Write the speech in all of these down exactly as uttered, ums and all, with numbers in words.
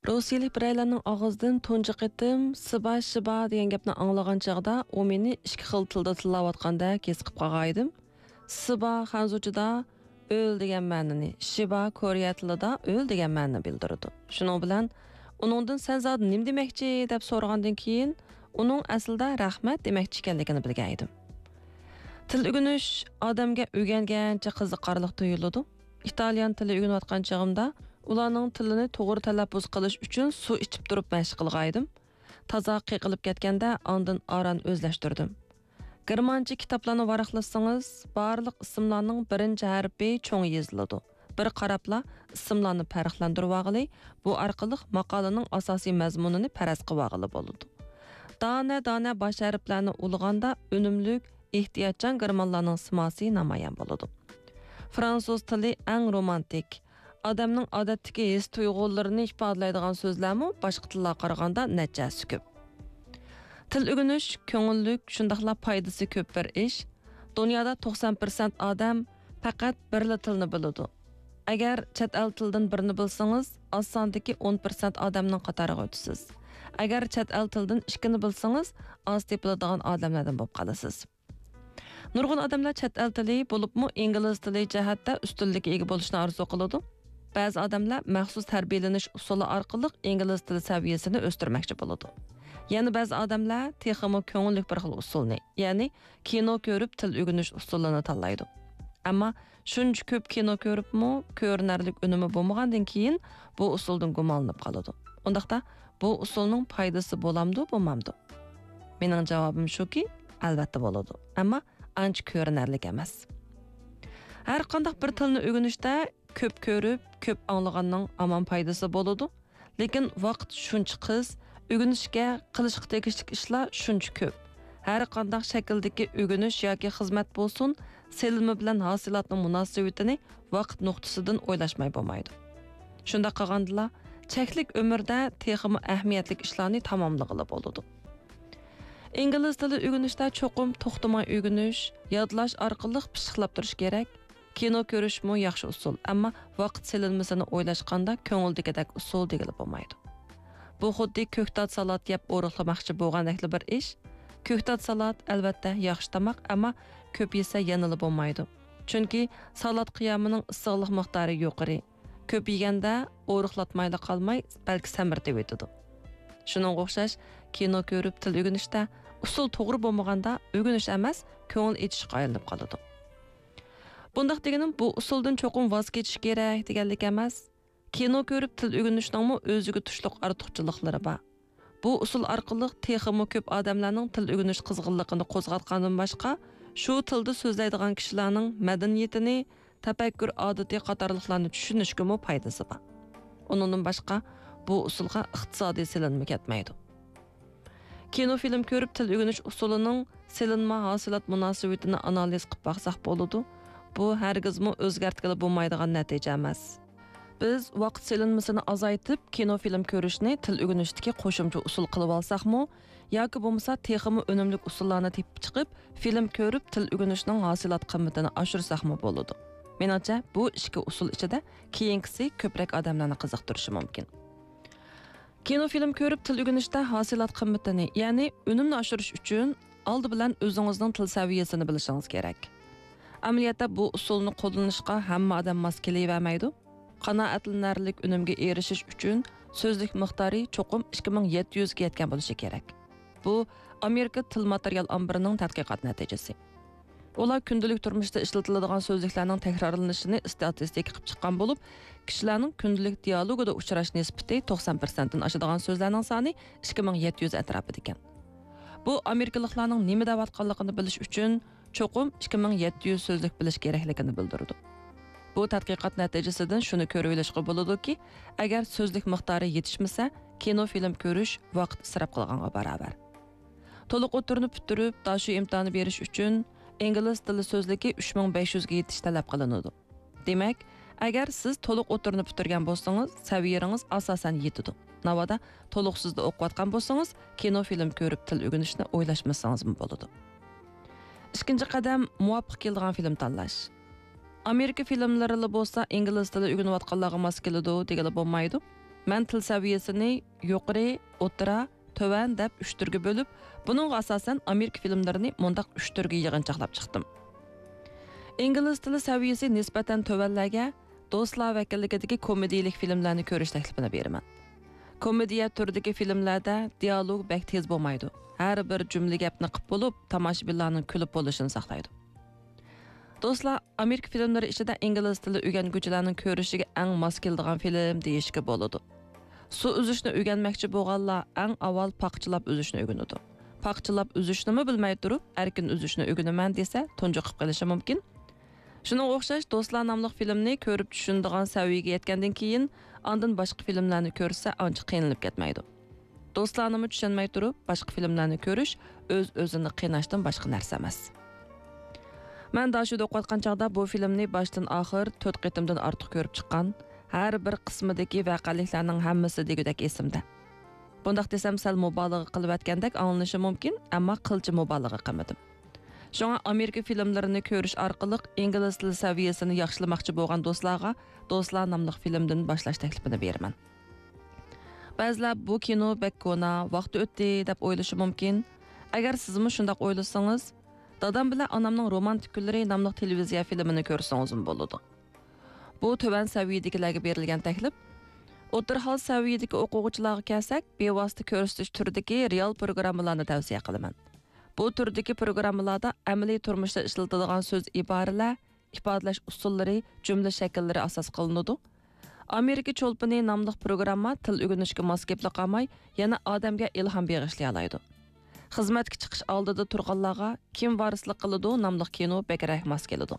روسىيىلىك بىرەيلەننىڭ ئاغزىدىن تۇنجى قېتىم سىبا شىبا دېگەن گەپنى ئاڭلىغان چاغدا، ئۇ مېنى ئىككى خىل تىلدا تىللاۋاتقاندەك ھېس قىلىپ قالغانىدىم. سىبا خەنزۇچىدا ئۆل دېگەن مەنىنى، شىبا كورېيە تىلىدا ئۆل دېگەن مەنىنى بىلدۈرىدۇ. شۇنىڭ بىلەن ئۇنىڭدىن سەن زادى نېمە دېمەكچى دەپ سورىغاندىن كېيىن، ئۇنىڭ ئەسلىدە رەھمەت دېمەكچى ئىكەنلىكىنى بىلگەن ئىدىم. تىل ئۆگىنىش ئادەمگە ئۆگەنگەنچە قىزىقارلىق تۇيۇلىدۇ. ئىتالىيان تىلى ئۆگىنىۋاتقان چېغىمدا ئۇلارنىڭ تىلىنى توغرا تەلەپپۇز قىلىش ئۈچۈن سۇ ئىچىپ تۇرۇپ مەشىق قىلغانىدىم. تازا قېقىلىپ كەتكەندە ئاندىن ئاران ئۆزلەشتۈردۈم. گېرمانچە كىتابلارنى ۋاراقلىسىڭىز، بارلىق ئىسىملارنىڭ بىرىنچى ھەرپى چوڭ يېزىلىدۇ. بىر قاراپلا ئىسىملارنى پەرقلەندۈرۈۋالغىلى، بۇ ئارقىلىق ماقالىنىڭ ئاساسىي مەزمۇنىنى پەرەز قىلىۋالغىلى بولىدۇ. دانە-دانە باش ھەرپلەرنى ئۇلىغاندا ئۈنۈملۈك، ئېھتىياتچان گېرمانلارنىڭ سىماسى نامايان بولىدۇ. فرانسۇز تىلى ئەڭ رومانتىك، ئادەمنىڭ ئادەتتىكى ھېس-تۇيغۇلىرىنى ئىپادىلەيدىغان سۆزلەرمۇ باشقا تىللارغا قارىغاندا نەچچە ھەسسە كۆپ. تىل ئۆگىنىش كۆڭۈللۈك، شۇنداقلا پايدىسى كۆپ بىر ئىش. دۇنيادا توقسان پىرسەنت ئادەم پەقەت بىرلا تىلنى بىلىدۇ. ئەگەر چەت ئەل تىلىدىن بىرنى بىلسىڭىز، ئاز ساندىكى ئون پىرسەنت ئادەمنىڭ قاتارىغا ئۆتىسىز. ئەگەر چەت ئەل تىلىدىن ئىككىنى بىلسىڭىز، ئاز تېپىلىدىغان ئادەملەردىن بولۇپ قالىسىز. نۇرغۇن ئادەملەر چەت ئەل تىلى، بولۇپمۇ ئىنگلىز تىلى جەھەتتە ئۈستۈنلۈككە ئىگە بولۇشنى ئارزۇ قىلىدۇ. بەزى ئادەملەر مەخسۇس تەربىيەلىنىش ئۇسۇلى ئارقىلىق ئىنگلىز تىلى سەۋىيەسىنى ئۆستۈرمەكچى بولىدۇ. يەنە بەزى ئادەملەر تېخىمۇ كۆڭۈللۈك بىر خىل ئۇسۇلنى، يەنى كىنو كۆرۈپ تىل ئۆگىنىش ئۇسۇلىنى تاللايدۇ. ئەمما شۇنچە كۆپ كىنو كۆرۈپمۇ كۆرۈنەرلىك ئۈنۈمى بولمىغاندىن كېيىن بۇ ئۇسۇلدىن گۇمانلىنىپ قالىدۇ. ئۇنداقتا بۇ ئۇسۇلنىڭ پايدىسى بولامدۇ، بولمامدۇ؟ مېنىڭ جاۋابىم شۇكى، ئەلۋەتتە بولىدۇ. ئەمما ئانچە كۆرۈنەرلىك ئەمەس. ھەر قانداق بىر تىلنى ئۆگىنىشتە كۆپ كۆرۈپ، كۆپ ئاڭلىغاننىڭ ھامان پايدىسى بولىدۇ. لېكىن ۋاقىت شۇنچە قىس، ئۆگىنىشكە، قىلىشقا تېگىشلىك ئىشلار شۇنچە كۆپ. ھەر قانداق شەكىلدىكى ئۆگىنىش ياكى خىزمەت بولسۇن، سېلىنما بىلەن ھاسىلاتنىڭ مۇناسىۋىتىنى ۋاقىت نۇقتىسىدىن ئويلاشماي بولمايدۇ. شۇنداق قىلغاندىلا، چەكلىك ئۆمۈردە تېخىمۇ ئەھمىيەتلىك ئىشلارنى تاماملىغىلى بولىدۇ. ئىنگلىز تىلى ئۆگىنىشتە چوقۇم توختىماي ئۆگىنىش، يادلاش ئارقىلىق پىششىقلاپ تۇرۇش كېرەك. كىنو كۆرۈشمۇ ياخشى ئۇسۇل، ئەمما ۋاقىت سېلىنمىسىنى ئويلاشقاندا كۆڭۈلدىكىدەك ئۇسۇل دېگىلى بولمايدۇ. بۇ خۇددى كۆكتات سالات يەپ ئورۇقلىماقچى بولغاندەكلا بىر ئىش. كۆكتات سالات، ئەلۋەتتە، ياخشى تاماق، ئەمما كۆپ يېسە يەنىلا بولمايدۇ. چۈنكى سالات قىيامىنىڭ ئىسسىقلىق مىقدارى يۇقىرى. كۆپ يېگەندە ئورۇقلاتمايلا قالماي، بەلكى سەمرىتىۋېتىدۇ. شۇنىڭغا ئوخشاش، كىنو كۆرۈپ تىل ئۆگىنىشتە ئۇسۇل توغرا بولمىغاندا ئۆگىنىش ئەمەس، كۆڭۈل ئېچىشقا ئايلىنىپ قالىدۇ. بۇنداق دېگىنىم بۇ ئۇسۇلدىن چوقۇم ۋاز كېچىش كېرەك دېگەنلىك ئەمەس. كىنو كۆرۈپ تىل ئۆگىنىشنىڭمۇ ئۆزىگە تۇشلۇق ئارتۇقچىلىقلىرى بار. بۇ ئۇسۇل ئارقىلىق تېخىمۇ كۆپ ئادەملەرنىڭ تىل ئۆگىنىش قىزغىنلىقىنى قوزغاتقاندىن باشقا، شۇ تىلدا سۆزلەيدىغان كىشىلەرنىڭ مەدەنىيىتىنى، تەپەككۇر ئادىتى قاتارلىقلارنى چۈشىنىشكىمۇ پايدىسى بار. ئۇنىڭدىن باشقا، بۇ ئۇسۇلغا ئىقتىسادىي سېلىنما كەتمەيدۇ. كىنو فىلىم كۆرۈپ تىل ئۆگىنىش ئۇسۇلىنىڭ سېلىنما ھاسىلات مۇناسىۋىتىنى ئانالىز قىلىپ باقساق بولىدۇ. بۇ ھەرگىزمۇ ئۆزگەرتكىلى بولمايدىغان نەتىجە ئەمەس. بىز ۋاقىت سېلىنمىسىنى ئازايتىپ، كىنو فىلىم كۆرۈشنى تىل ئۆگىنىشتىكى قوشۇمچە ئۇسۇل قىلىۋالساقمۇ، ياكى بولمىسا تېخىمۇ ئۈنۈملۈك ئۇسۇللارنى تېپىپ چىقىپ، فىلىم كۆرۈپ تىل ئۆگىنىشنىڭ ھاسىلات قىممىتىنى ئاشۇرساقمۇ بولىدۇ. مېنىڭچە، بۇ ئىككى ئۇسۇل ئىچىدە كېيىنكىسى كۆپرەك ئادەملەرنى قىزىقتۇرۇشى مۇمكىن. كىنو فىلىم كۆرۈپ تىل ئۆگىنىشتە ھاسىلات قىممىتىنى، يەنى ئۈنۈمنى ئاشۇرۇش ئۈچۈن ئالدى بىلەن ئۆزىڭىزنىڭ تىل سەۋىيەسىنى بىلىشىڭىز كېرەك. ئەمەلىيەتتە بۇ ئۇسۇلنى قوللىنىشقا ھەممە ئادەم ماس كېلىۋەرمەيدۇ. قانائەتلىنەرلىك ئۈنۈمگە ئېرىشىش ئۈچۈن سۆزلۈك مىقدارى چوقۇم ئىككى مىڭ يەتتە يۈزگە يەتكەن بولۇشى كېرەك. بۇ ئامېرىكا تىل ماتېرىيال ئامبىرىنىڭ تەتقىقات نەتىجىسى. ئۇلار كۈندىلىك تۇرمۇشتا ئىشلىتىلىدىغان سۆزلۈكلەرنىڭ تەكرارلىنىشىنى ئىستاتىستىكا قىلىپ چىققان بولۇپ، كىشىلەرنىڭ كۈندىلىك دىيالوگىدا ئۇچراش نىسبىتى توقسان پىرسەنتتىن ئاشىدىغان سۆزلەرنىڭ سانى ئىككى مىڭ يەتتە يۈز ئەتراپىدىكەن. بۇ ئامېرىكىلىقلارنىڭ نېمە دەۋاتقانلىقىنى بىلىش ئۈچۈن چوقۇم ئىككى مىڭ يەتتە يۈز سۆزلۈك بىلىش كېرەكلىكىنى بىلدۈرىدۇ. بۇ تەتقىقات نەتىجىسىدىن شۇنى كۆرۈۋېلىشقا بولىدۇكى، ئەگەر سۆزلۈك مىقدارى يېتىشمىسە، كىنو فىلىم كۆرۈش ۋاقىت ئىسراپ قىلغانغا باراۋەر. تولۇق ئوتتۇرىنى پۈتتۈرۈپ، داشۆ ئىمتىھانى بېرىش ئۈچۈن ئىنگلىز تىلى سۆزلۈكى ئۈچ مىڭ بەش يۈزگە يېتىش تەلەپ قىلىنىدۇ. دېمەك، ئەگەر سىز تولۇق ئوتتۇرىنى پۈتتۈرگەن بولسىڭىز، سەۋىيەڭىز ئاساسەن يېتىدۇ. ناۋادا تولۇقسىزدا ئوقۇۋاتقان بولسىڭىز، كىنو فىلىم كۆرۈپ تىل ئۆگىنىشنى ئويلاشمىسىڭىزمۇ بولىدۇ. ئىككىنچى قەدەم، مۇۋاپىق كېلىدىغان فىلىم تاللاش. ئامېرىكا فىلىملىرىلا بولسا ئىنگلىز تىلى ئۆگىنىۋاتقانلارغا ماس كېلىدۇ دېگىلى بولمايدۇ. مەن تىل سەۋىيەسىنى يۇقىرى، ئوتتۇرا، تۆۋەن دەپ ئۈچ تۈرگە بۆلۈپ، بۇنىڭغا ئاساسەن ئامېرىكا فىلىملىرىنى مۇنداق ئۈچ تۈرگە يىغىنچاقلاپ چىقتىم. ئىنگلىز تىلى سەۋىيەسى نىسبەتەن تۆۋەنلەرگە دوستلار ۋەكىللىكىدىكى كومېدىيىلىك فىلىملەرنى كۆرۈش تەكلىپىنى بېرىمەن. كومېدىيە تۈرىدىكى فىلىملەردە دىيالوگ بەك تېز بولمايدۇ. ھەر بىر جۈملە گەپنى قىپ بولۇپ، تاماشىبىنلارنىڭ كۈلۈپ بولۇشىنى ساقلايدۇ. دوستلار، ئامېرىكا فىلىملىرى ئىچىدە ئىنگلىز تىلى ئۆگەنگۈچىلەرنىڭ كۆرۈشىگە ئەڭ ماس كېلىدىغان فىلىم دېيىشكە بولىدۇ. سۇ ئۈزۈشنى ئۆگەنمەكچى بولغانلار ئەڭ ئاۋۋال پاخچىلاپ ئۈزۈشنى ئۆگىنىدۇ. پاخچىلاپ ئۈزۈشنىمۇ بىلمەي تۇرۇپ، ئەركىن ئۈزۈشنى ئۆگىنىمەن دېسە، تۇنجۇقۇپ قېلىشى مۇمكىن. شۇنىڭغا ئوخشاش، دوستلار ناملىق فىلىمنى كۆرۈپ چۈشىنىدىغان سەۋىيەگە يەتكەندىن كېيىن، ئاندىن باشقا فىلىملەرنى كۆرسە، ئانچە قىينىلىپ كەتمەيدۇ. دوستلارنىمۇ چۈشەنمەي تۇرۇپ، باشقا فىلىملەرنى كۆرۈش ئۆز-ئۆزىنى قىيناشتىن باشقا نەرسە ئەمەس. مەن داشۆدە ئوقۇۋاتقان چاغدا بۇ فىلىمنى باشتىن ئاخىر تۆت قېتىمدىن ئارتۇق كۆرۈپ چىققان. ھەر بىر قىسمىدىكى ۋەقەلىكلەرنىڭ ھەممىسى دېگۈدەك ئېسىمدە. بۇنداق دېسەم سەل مۇبالىغە قىلىۋەتكەندەك ئاڭلىنىشى مۇمكىن، ئەمما قىلچە مۇبالىغە قىلمىدىم. شۇڭا ئامېرىكا فىلىملىرىنى كۆرۈش ئارقىلىق ئىنگلىز تىلى سەۋىيەسىنى ياخشىلىماقچى بولغان دوستلارغا دوستلار ناملىق فىلىمدىن باشلاش تەكلىپىنى بېرىمەن. بەزىلەر بۇ كىنو بەك كونا، ۋاقتى ئۆتتى دەپ ئويلىشى مۇمكىن. ئەگەر سىزمۇ شۇنداق ئويلىسىڭىز، دادام بىلەن ئانامنىڭ رومانتىك كۈنلىرى ناملىق تېلېۋىزىيە فىلىمىنى كۆرسىڭىزمۇ بولىدۇ. بۇ تۆۋەن سەۋىيەدىكىلەرگە بېرىلگەن تەكلىپ. ئوتتۇرا ھال سەۋىيەدىكى ئوقۇغۇچىلارغا كەلسەك، بىۋاسىتە كۆرسىتىش تۈرىدىكى رېئال پروگراممىلارنى تەۋسىيە قىلىمەن. بۇ تۈردىكى پروگراممىلاردا ئەمەلىي تۇرمۇشتا ئىشلىتىدىغان سۆز ئىبارىلەر، ئىپادىلەش ئۇسۇللىرى، جۈملە شەكىللىرى ئاساس قىلىنىدۇ. ئامېرىكا چولپىنى ناملىق پروگرامما تىل ئۆگىنىشكە ماس كېلىپلا قالماي، يەنە ئادەمگە ئىلھام بېغىشلىيالايدۇ. خىزمەتكە چىقىش ئالدىدا تۇرغانلارغا كىم ۋارىسلىق قىلىدۇ ناملىق كىنو بەكرەك ماس كېلىدۇ.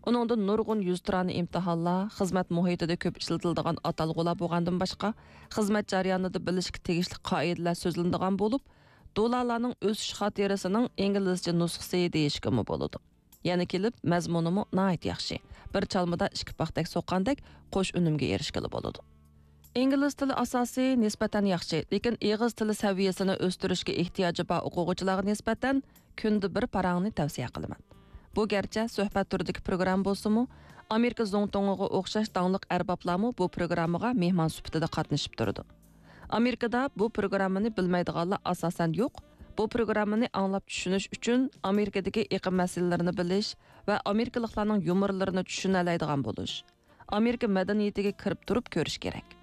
ئۇنىڭدا نۇرغۇن يۈزتۇرانە ئىمتىھانلار، خىزمەت مۇھىتىدا كۆپ ئىشلىتىلىدىغان ئاتالغۇلار بولغاندىن باشقا، خىزمەت جەريانىدا بىلىشكە تېگىشلىك قائىدىلەر سۆزلىنىدىغان بولۇپ، دولارلارنىڭ ئۆسۈش خاتىرىسىنىڭ ئىنگلىزچە نۇسخىسى دېيىشكىمۇ بولىدۇ. يەنە كېلىپ، مەزمۇنىمۇ ناھايىتى ياخشى. بىر چالمىدا ئىككى پاختەك سوققاندەك قوش ئۈنۈمگە ئېرىشكىلى بولىدۇ. ئىنگلىز تىلى ئاساسى نىسبەتەن ياخشى، لېكىن ئېغىز تىلى سەۋىيەسىنى ئۆستۈرۈشكە ئېھتىياجى بار ئوقۇغۇچىلارغا نىسبەتەن كۈندە بىر پاراڭنى تەۋسىيە قىلىمەن. بۇ گەرچە سۆھبەت تۈرىدىكى پروگرامما بولسىمۇ، ئامېرىكا زۇڭتۇڭىغا ئوخشاش داڭلىق ئەربابلارمۇ بۇ پروگراممىغا مېھمان سۈپىتىدە قاتنىشىپ تۇرىدۇ. ئامېرىكىدا بۇ پروگراممىنى بىلمەيدىغانلار ئاساسەن يوق. بۇ پروگراممىنى ئاڭلاپ چۈشىنىش ئۈچۈن ئامېرىكىدىكى ئېقىم مەسىلىلىرىنى بىلىش ۋە ئامېرىكىلىقلارنىڭ يۇمۇرلىرىنى چۈشىنەلەيدىغان بولۇش، ئامېرىكا مەدەنىيىتىگە كىرىپ تۇرۇپ كۆرۈش كېرەك.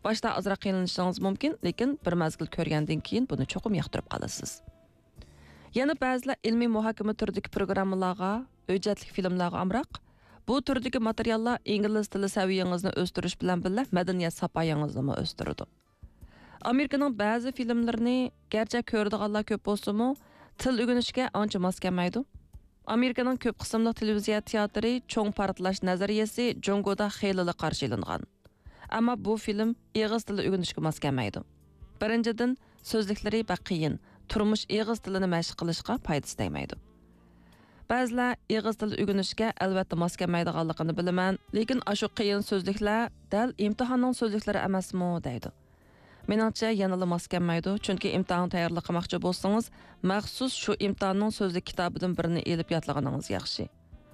باشتا ئازراق قىينىلىشىڭىز مۇمكىن، لېكىن بىر مەزگىل كۆرگەندىن كېيىن بۇنى چوقۇم ياقتۇرۇپ قالىسىز. يەنە بەزىلەر ئىلمىي مۇھاكىمە تۈرىدىكى پروگراممىلارغا، ھۆججەتلىك فىلىملارغا ئامراق. بۇ تۈردىكى ماتېرىياللار ئىنگلىز تىلى سەۋىيەڭىزنى ئۆستۈرۈش بىلەن بىللە مەدەنىيەت ساپايىڭىزنىمۇ ئۆستۈرىدۇ. ئامېرىكىنىڭ بەزى فىلىملىرىنى گەرچە كۆرىدىغانلار كۆپ بولسىمۇ، تىل ئۆگىنىشكە ئانچە ماس كەلمەيدۇ. ئامېرىكىنىڭ كۆپ قىسىملىق تېلېۋىزىيە تىياتىرى چوڭ پارتلاش نەزەرىيەسى جۇڭگودا خېلىلا قارشى ئېلىنغان. ئەمما بۇ فىلىم ئېغىز تىلى ئۆگىنىشكە ماس كەلمەيدۇ. بىرىنچىدىن، سۆزلۈكلىرى بەك قىيىن، تۇرمۇش ئېغىز تىلىنى مەشىق قىلىشقا پايدىسى تەگمەيدۇ. بەزىلەر ئېغىز تىلى ئۆگىنىشكە ئەلۋەتتە ماس كەلمەيدىغانلىقىنى بىلىمەن، لېكىن ئاشۇ قىيىن سۆزلۈكلەر دەل ئىمتىھاننىڭ سۆزلۈكلىرى ئەمەسمۇ دەيدۇ. مېنىڭچە يەنىلا ماس كەلمەيدۇ، چۈنكى ئىمتىھانغا تەييارلىق قىلماقچى بولسىڭىز، مەخسۇس شۇ ئىمتىھاننىڭ سۆزلۈك كىتابىدىن بىرنى ئېلىپ يادلىغىنىڭىز ياخشى.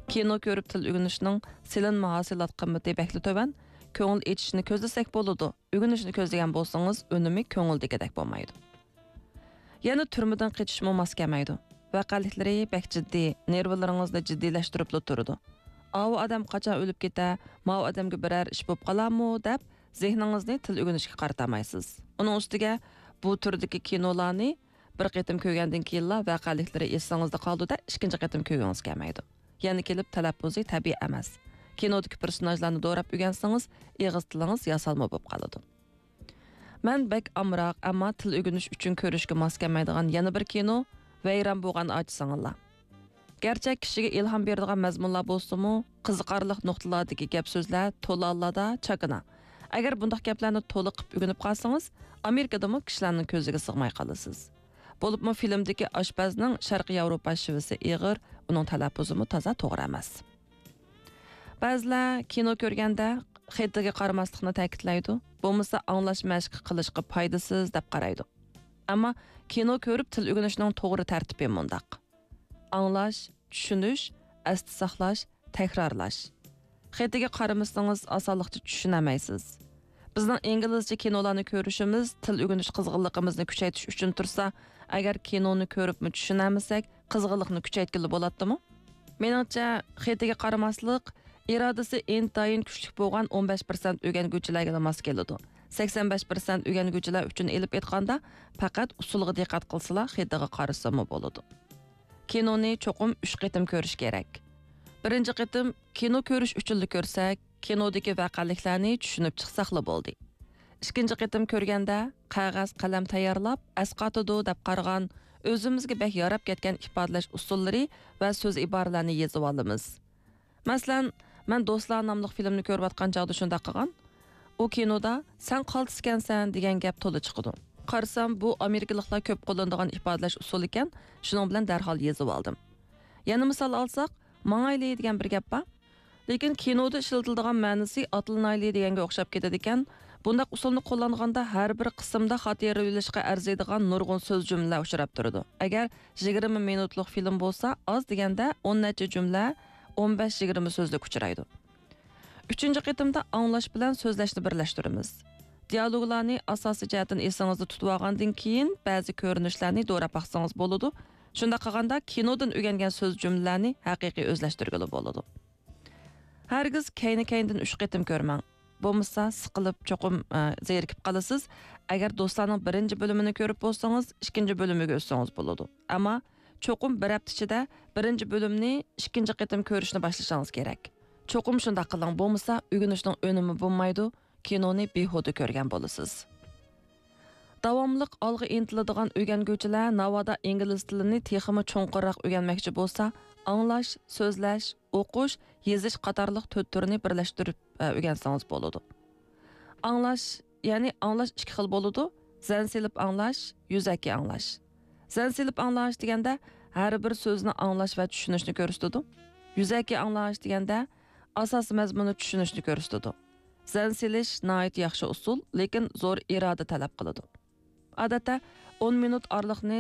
كىنو كۆرۈپ تىل ئۆگىنىشنىڭ سېلىنما ھاسىلات قىممىتى بەكلا تۆۋەن. كۆڭۈل ئېچىشنى كۆزلىسەك بولىدۇ، ئۆگىنىشنى كۆزلىگەن بولسىڭىز ئۈنۈمى كۆڭۈلدىكىدەك بولمايدۇ. يەنە تۈرمىدىن قېچىشمۇ ماس كەلمەيدۇ. ۋەقەلىكلىرى بەك جىددىي، نېرۋىلىرىڭىزنى جىددىيلەشتۈرۈپلا تۇرىدۇ. ئاۋۇ ئادەم قاچان ئۆلۈپ كېتە، ماۋۇ ئادەمگە بىرەر ئىش بولۇپ قالارمۇ دەپ زېھنىڭىزنى تىل ئۆگىنىشكە قارىتالمايسىز. ئۇنىڭ ئۈستىگە بۇ تۈردىكى كىنولارنى بىر قېتىم كۆرگەندىن كېيىنلا ۋەقەلىكلىرى ئېسىڭىزدە قالىدۇ-دە، ئىككىنچى قېتىم كۆرگۈڭىز كەلمەيدۇ. يەنە كېلىپ تەلەپپۇزى تەبىئىي ئەمەس. كىنودىكى پېرسوناژلارنى دوراپ ئۆگەنسىڭىز، ئېغىز تىلىڭىز ياسالما بولۇپ قالىدۇ. مەن بەك ئامراق، ئەمما تىل ئۆگىنىش ئۈچۈن كۆرۈشكە ماس كەلمەيدىغان يەنە بىر كىنو ۋەيران بولغان ئاچا سىڭىللار. گەرچە كىشىگە ئىلھام بېرىدىغان مەزمۇنلار بولسىمۇ، قىزىقارلىق نۇقتىلارىكى گەپ-سۆزلەر تولىلا چاكىنا. ئەگەر بۇنداق گەپلەرنى تولا قىلىپ ئۆگىنىپ قالسىڭىز، ئامېرىكىدىمۇ كىشىلەرنىڭ كۆزىگە سىغماي قالىسىز. بولۇپمۇ فىلىمدىكى ئاشپەزنىڭ شەرقىي ياۋروپا شېۋىسى ئېغىر، ئۇنىڭ تەلەپپۇزىمۇ تازا توغرا ئەمەس. بەزىلەر كىنو كۆرگەندە خېتىگە قارىماسلىقنى تەكىتلەيدۇ، بولمىسا ئاڭلاش مەشقى قىلىشقا پايدىسىز دەپ قارايدۇ. ئەمما كىنو كۆرۈپ تىل ئۆگىنىشنىڭ توغرا تەرتىپى مۇنداق: ئاڭلاش، چۈشىنىش، ئەستە ساقلاش، تەكرارلاش. خېتىگە قارىمىسىڭىز ئاسانلىقچە چۈشىنەلمەيسىز. بىزنىڭ ئىنگلىزچە كىنولارنى كۆرۈشىمىز تىل ئۆگىنىش قىزغىنلىقىمىزنى كۈچەيتىش ئۈچۈن تۇرسا، ئەگەر كىنونى كۆرۈپمۇ چۈشىنەلمىسەك، قىزغىنلىقنى كۈچەيتكىلى بولاتتىمۇ؟ مېنىڭچە، خېتىگە قارىماسلىق، ئىرادىسى ئىنتايىن كۈچلۈك بولغان ئون بەش پىرسەنت ئۆگەنگۈچىلەرگىلا ماس كېلىدۇ. سەكسەن بەش پىرسەنت ئۆگەنگۈچىلەر ئۈچۈن ئېلىپ ئېيتقاندا، پەقەت ئۇسۇلغا دىققەت قىلسىلا، خېتىغا قارىسىمۇ بولىدۇ. كىنونى چوقۇم ئۈچ قېتىم كۆرۈش كېرەك. بىرىنچى قېتىم كىنو كۆرۈش ئۈچۈنلا كۆرسەك، كىنودىكى ۋەقەلىكلەرنى چۈشىنىپ چىقساقلا بولدى. ئىككىنچى قېتىم كۆرگەندە، قەغەز، قەلەم تەييارلاپ، ئەسقاتىدۇ دەپ قارىغان، ئۆزىمىزگە بەك ياراپ كەتكەن ئىپادىلەش ئۇسۇللىرى ۋە سۆز ئىبارىلەرنى يېزىۋالىمىز. مەسىلەن، مەن دوستلار ناملىق فىلىمنى كۆرۈۋاتقان چاغدا شۇنداق قىلغان. ئۇ كىنودا «سەن قالتىس ئىكەنسەن» دېگەن گەپ تولا چىقىدۇ. قارىسام، بۇ ئامېرىكىلىقلار كۆپ قوللىنىدىغان ئىپادىلەش ئۇسۇلى ئىكەن، شۇنىڭ بىلەن دەرھال يېزىۋالدىم. يەنە مىسال ئالساق، «ماڭايلى» دېگەن بىر گەپ بار. لېكىن كىنودا ئىشلىتىلىدىغان مەنىسى «ئاتلىنايلى» دېگەنگە ئوخشاپ كېتىدىكەن. بۇنداق ئۇسۇلنى قوللانغاندا ھەر بىر قىسىمدا خاتىرىلىشقا ئەرزىيدىغان نۇرغۇن سۆز جۈملىلەر ئۇچراپ تۇرىدۇ. ئەگەر يىگىرمە مىنۇتلۇق فىلىم بولسا، ئاز دېگەندە ئون نەچچە جۈملە، ئون بەش يىگىرمە سۆزلۈك ئۇچرايدۇ. ئۈچىنچى قېتىمدا ئاڭلاش بىلەن سۆزلەشنى بىرلەشتۈرىمىز. دىئالوگلارنى ئاساسىي جەھەتتىن ئېسىڭىزدە تۇتۇۋالغاندىن كېيىن، بەزى كۆرۈنۈشلەرنى دوراپ باقسىڭىز بولىدۇ. شۇنداق قىلغاندا كىنودىن ئۆگەنگەن سۆز جۈملىلەرنى ھەقىقىي ئۆزلەشتۈرگىلى بولىدۇ. ھەرگىز كەينى-كەينىدىن ئۈچ قېتىم كۆرمەڭ. بولمىسا سىقىلىپ، چوقۇم، ئە، زېرىكىپ قالىسىز. ئەگەر دوستلارنىڭ بىرىنچى بۆلۈمىنى كۆرۈپ بولسىڭىز، ئىككىنچى بۆلۈمىگە ئۆتسىڭىز بولىدۇ. ئەمما چوقۇم بىر ھەپتە ئىچىدە بىرىنچى بۆلۈمنى ئىككىنچى قېتىم كۆرۈشنى باشلىشىڭىز كېرەك. چوقۇم شۇنداق قىلىڭ، بولمىسا ئۆگىنىشنىڭ ئۈنۈمى بولمايدۇ، كىنونى بىھۇدە كۆرگەن بولىسىز. داۋاملىق ئالغا ئىنتىلىدىغان ئۆگەنگۈچىلەر ناۋادا ئىنگلىز تىلىنى تېخىمۇ چوڭقۇرراق ئۆگەنمەكچى بولسا، ئاڭلاش، سۆزلەش، ئوقۇش، يېزىش قاتارلىق تۆت تۈرنى بىرلەشتۈرۈپ، ئە، ئۆگەنسىڭىز بولىدۇ. ئاڭلاش، يەنى ئاڭلاش ئىككى خىل بولىدۇ، زەن سېلىپ ئاڭلاش، يۈزەكى ئاڭلاش. زەن سېلىپ ئاڭلاش دېگەندە ھەر بىر سۆزنى ئاڭلاش ۋە چۈشىنىشنى كۆرسىتىدۇ. يۈزەكى ئاڭلاش دېگەندە ئاساسىي مەزمۇننى چۈشىنىشنى كۆرسىتىدۇ. زەن سېلىش ناھايىتى ياخشى ئۇسۇل، لېكىن زور ئىرادە تەلەپ قىلىدۇ. ئادەتتە ئون مىنۇت ئارىلىقنى